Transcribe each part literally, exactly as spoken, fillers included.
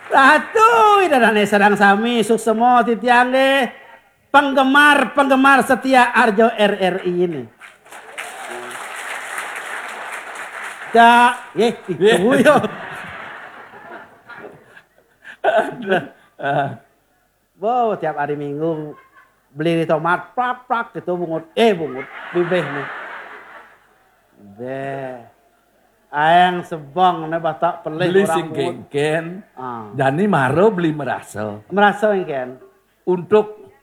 Ratu, Ida dané sareng sami suksma titiang nggih. Penggemar-penggemar setia Arjo R R I ini. Cak, nggih, itu yo. Wow, tiap hari Minggu beli di tomat, prak, prak, gitu, bungut. Eh, bungut, bibih nih. Beh. Aeng sebong né batak pelih. Beli orang sing bungut. Kéngkén. Ah. Jani maro beli merasa. Merasa kéngkén. Untuk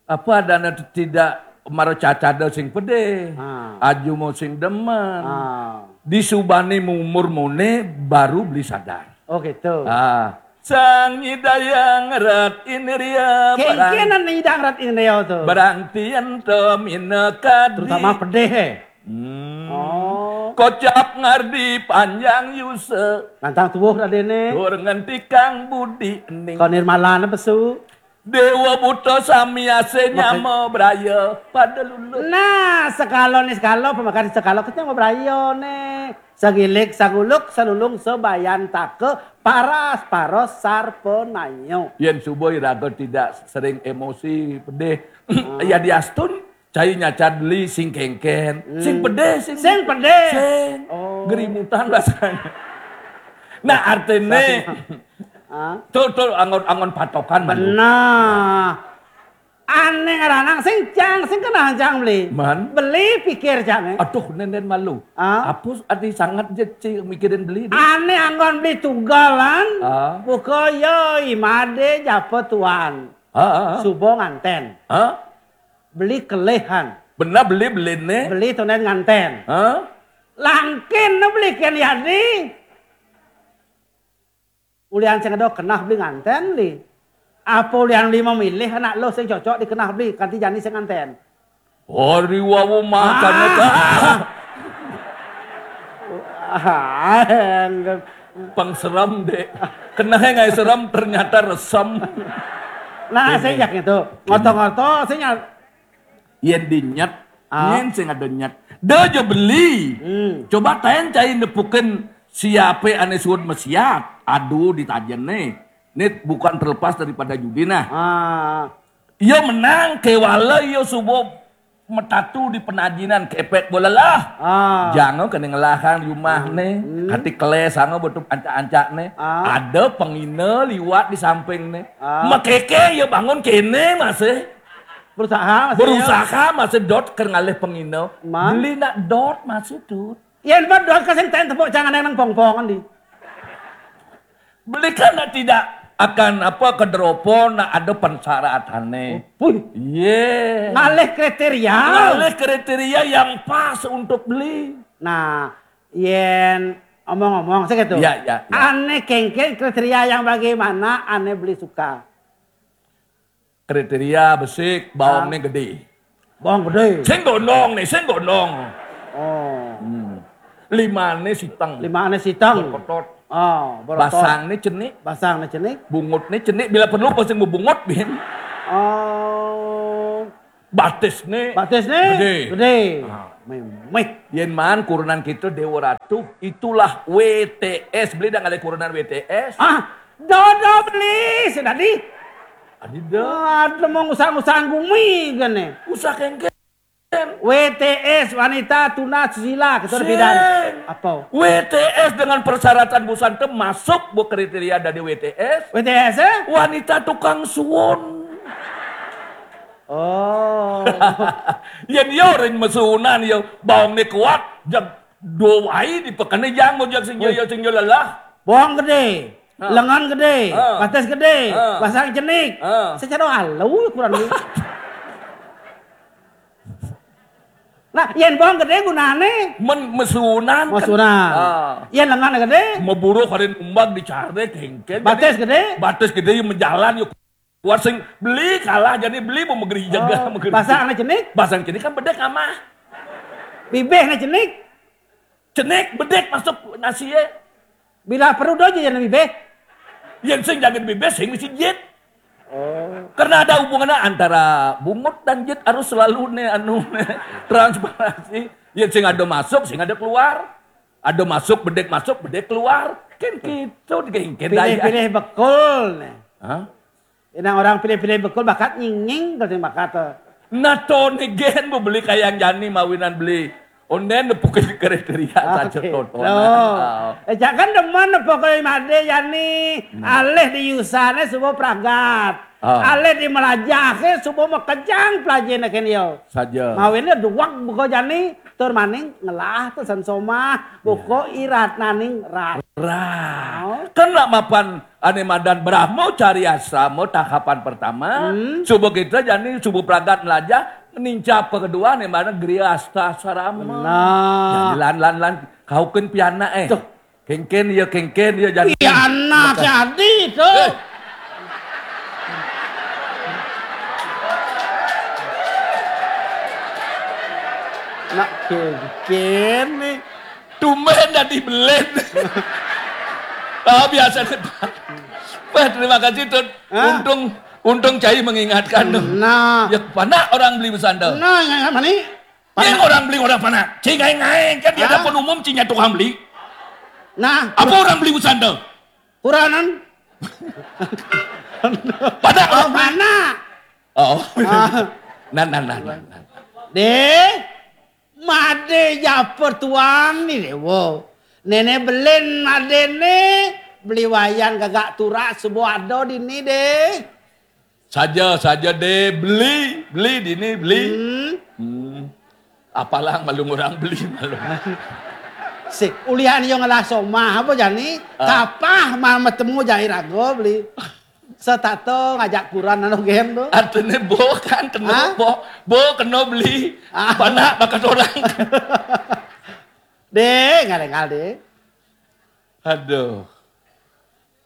apa adana tidak maro cacada sing pedih. Ah. Aju mau sing demen. Ah. Di subani umur mone baru beli sadar. Oh, gitu. Ah. Sang Ida Hyang Rat Indria. Kéngkénan Ida Hyang Rat Indria tuh. Barang tian to mina kadi. Terutama pedih, eh. Hmm. Oh. Kocap ngardi panjang yusa. Nantang tuwuh radéné. Tur ngentikang budi ening. Kok nirmalana pesu. Déwa buta sami asé nyama braya pada lulus. Nah, sekala né sekala, pemakan sekala kita mau braya né. Sagilik, saguluk, salulung, sabayantaka, paras, paros, sarpanaya. Yén suba iraga tidak sering emosi, pedih, ya diastun, cai nyacan beli sing kéngkén, sing pedih, sing, sing pedih. Sing. Oh. Gerimutan rasanya. Nah, artinya, tuh, tuh, angon, angon patokan, Manu. Nah, Ané ngaranang sing cang, sing kenal cang beli. Man. Beli pikir cang, eh. Aduh, nénén malu. Ah? Apus ati sangat je ci mikirin beli. Ané anggon beli tunggalan. Ah? Buka yo imade japa tuan. Ah, ah, ah. Subo nganten. Ah? Beli kelehan. Benar beli beli né. Beli tunen nganten. Ah? Langkin beli ken yadi. Ulian sing ada kenah beli nganten li. Apa ulian beli memilih anak lo sing cocok dikenah beli kanti jani sing nganten. Hari wawu makan ah. Ah, pengserem dek. Kenah ngai serem ternyata resem. Nah, sing yak itu. Ngoto-ngoto sing yen dinyet, ah. Yen sing ada nyet. Da aja beli. Hmm. Coba taen cai nepukin siape ane suud mesiat. Aduh, ditajen nih. Ini bukan terlepas daripada judi nah. Ah. Iya menang, kewala iya subuh metatu di penajinan kepek bola lah. Ah. Jangan kena ngelahan di rumah nih. Hmm. Kati keles sangat betul ancak-ancak nih. Ah. Ada pengina liwat di samping nih. Ah. Makeke ya bangun kene masih. Berusaha masih. Berusaha masih dot ker ngalih pengina. Beli nak dot masih dot. Yen mah dot kasing ten tepuk jangan nang pong-pongan di. Beli kan tidak akan apa kedropo nak ada persyaratannya. Oh, wih. Iya. Ngalih kriteria. Ngalih kriteria yang pas untuk beli. Nah, yen omong-omong segitu. Ya, ya, ya. Ane kengken kriteria yang bagaimana ane beli suka. Kriteria besik, bawangnya gede. Bawang gede. Sing gondong nih, sing gondong. Oh. Hmm. Limane siteng. Limane siteng. Berkotot. Oh, berkotot. Basangnya cenik. Basangnya cenik. Bungutnya cenik, bila perlu pasti mau bungut bin. Oh. Batisnya. Batisnya gede. Gede. Ah. Memeh. Yen man kurunan kita Dewa Ratu, itulah W T S. Beli dah ngalih kurunan W T S. Ah, dodo beli, sudah di. Adi dah. Ada mau ngusah-ngusah gumi gane. Usah kengken. W T S, wanita tuna susila, kita udah bidan. Apa? W T S dengan persyaratan busan tem masuk bu kriteria dari W T S. W T S, eh? Wanita tukang suwon. Oh. Yen yo ring mesunan yo bawang ni kuat, jag do wai di pekene jang mo jag sing yo sing yo lelah. Bawang gede, lengan gede, batas gede, basang cenik. Secara alu kurang ni. Nah, yen bawang gede gunane men mesunan. Mesunan. Yen lengan gede, meburu karin umbag dicare kengken. Batas gede, batas gede menjalan yo. Kuat sing beli kalah jadi beli mau megeri jaga. Oh, megeri. Basang anak cenik? Basang cenik kan bedek amah. Bibeh anak cenik? Cenik bedek masuk nasi ya. Bila perlu dojo jadi bibeh. Yang sing jaga bibeh sing mesti jit. Oh. Karena ada hubungannya antara bungut dan jit harus selalu nih anu nih, transparansi. Yang sing ada masuk, sing ada keluar. Ada masuk, bedek masuk, bedek keluar. Kan gitu, kan daya. Pilih-pilih bekul nih. Hah? Inang orang pilih-pilih bekul bakat nyinging, kata bakat tuh. Nah, to nih gen beli kayang jani mawinan beli. Onden nepukin kriteria saja. Oke. Tontonan. Loh. Oh. Eh, jangan demen nepuk ke Made jani. Hmm. Alih di yusane subuh pragat. Oh. Alih di melajahke subuh mekejang pelajene ken yo. Saja. Mawine duwek buka jani, tur maning ngelah pesen somah, buka irat naning rat. Rat. Oh. Kan nak mapan ane madan Brahma cari asrama tahapan pertama, hmm, subuh kita jani subuh pragat melajah, nincap ke kedua ane madan Griya Asta Sarama. Nah. Jani lan, lan, lan, kaukin pianak, eh. Tuh. Kengken ya, kengken ya, jani. Pianak jadi tuh. Eh. Nak kengken nih. Tumben dadi belen. Ah, biasa nih, Pak. Wah, terima kasih, Tut. Hah? Untung, untung cai mengingatkan, tuh. Nah. Ya, panak orang beli besanda. Nah, yang mana nih? Yang orang beli orang panak. Cai ngai-ngai, kan dia dapur umum, cai nya tukang beli. Nah. Apa orang beli besanda? Puranan. Panak orang beli. Panak. Oh. Ah. Nah, nah, nah, nah, nah. Deh. Made ja pertuan ni dewa. Nene belen made ne, beli wayan gagak turak subuh ada dini deh. Saja, saja deh, beli, beli dini, beli. Hmm. Hmm. Apalang malu orang beli malu. Sik, ulian yo ngelah somah apa jani? Ah. Kapah ma-, metemu jai rago beli. Setato ngajak kuran anu gen tu. Artine bo kan kena, hah? Bo, bo kena beli. Ah. Panak bakat orang. Deh, ngal-ngal deh. Aduh.